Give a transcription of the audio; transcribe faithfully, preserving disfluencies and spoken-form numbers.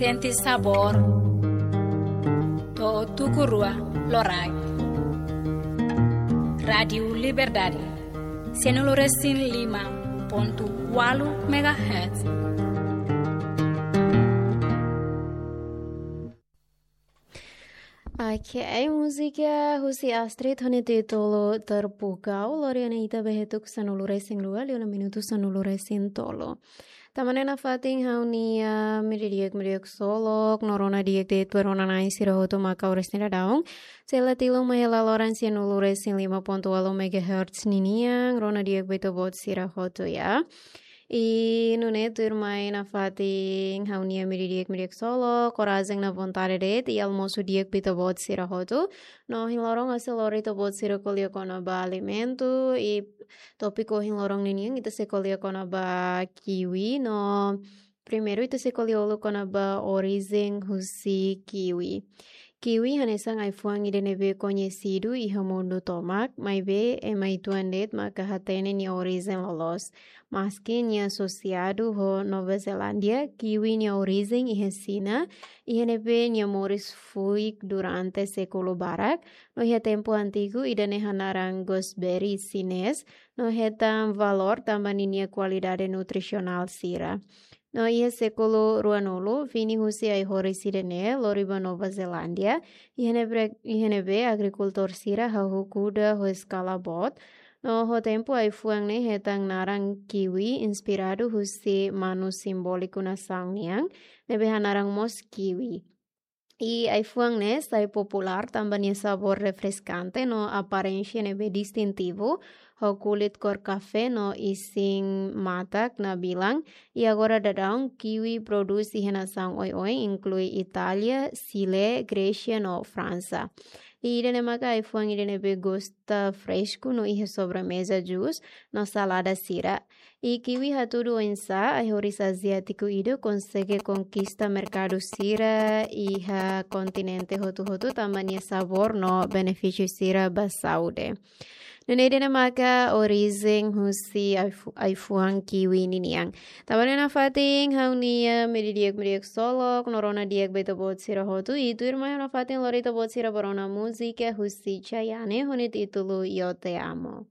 Sente sabór. To'o tuku rua loraik. Rádiu Liberdade. Sianulu resin lima pontu ualu megahertz. Ok, múzika husi Astrid ho nia títulu Terpukau, lori ona ita ba iha tuku sanulu resin rua, liu ona minutu sanulu resin tolu. Tanba ne'e nafatin ha'u-nia media di'ak, media di'ak ksolok, no rona di'ak de'it ba rona-na'in sira hotu maka oras ne'e daudaun. Sei la tilun mai iha laloran sianulu resin lima pontu ualu megahertz ninian, rona di'ak ba ita-boot sira hotu, ya. I nune'e tuirmai nafatin ha'u-nia media di'ak, media di'ak ksolok, korajen no vontade de'it, i almosu di'ak ba ita-boot sira hotu. No ohin loron ha'u sei lori ita-boot sira ko'alia kona-ba alimentu, i tópiku ohin loron ninian ita sei ko'alia kona-ba kiwi, no primeiru ita sei ko'alia uluk kona-ba orijen husi kiwi. Kiwi hanesan ai-fuan ida ne'ebé koñesidu iha mundu tomak, maibé ema uitoan de'it maka hatene nia orijen loloos. Maski nia asosiadu ho Nova Zelándia, kiwi nia orijen iha Xina, iha ne'ebé nia moris fuik durante sékulu barak, no iha tempu antigu ida-ne'e hanaran gooseberry xinés, no hetan valór tanba ninia kualidade nutrisionál sira. No iha sékulu ruanulu, fini husi ai-horis ida-ne'e lori ba Nova Zelándia, iha ne'ebé, iha ne'ebé agrikultór sira hahú kuda ho eskala boot, no ho tempu ai-fuan ne'e hetan naran kiwi inspiradu husi manu simbóliku nasaun nian, ne'ebé hanaran mós kiwi. I ai-fuan ne'e sai populár tanba nia sabór refreskante no aparénsia ne'ebé distintivu, ho kulit kór kafé no isin matak nabilan, i agora daudaun kiwi prodús iha nasaun oioin, inklui Itália, Xile, Grésia no Fransa. I ida-ne'e maka ai-fuan ida ne'ebé gosta fresku no iha sobremeza, jus no salada sira. I kiwi hatudu oinsá ai-horis aziátiku ida konsege konkista merkadu sira iha kontinente hotu-hotu tanba nia sabór no benefísiu sira ba saúde. Nune'e ida-ne'e maka orijen husi ai-fu-, ai-fuan kiwi ninian. Tanba ne'e nafatin ha'u-nia media di'ak, media di'ak ksolok, no rona di'ak ba ita-boot sira hotu, i tuirmai ha'u nafatin lori ita-boot sira ba rona múzika husi Chayanne ho nia títulu Yo Te Amo.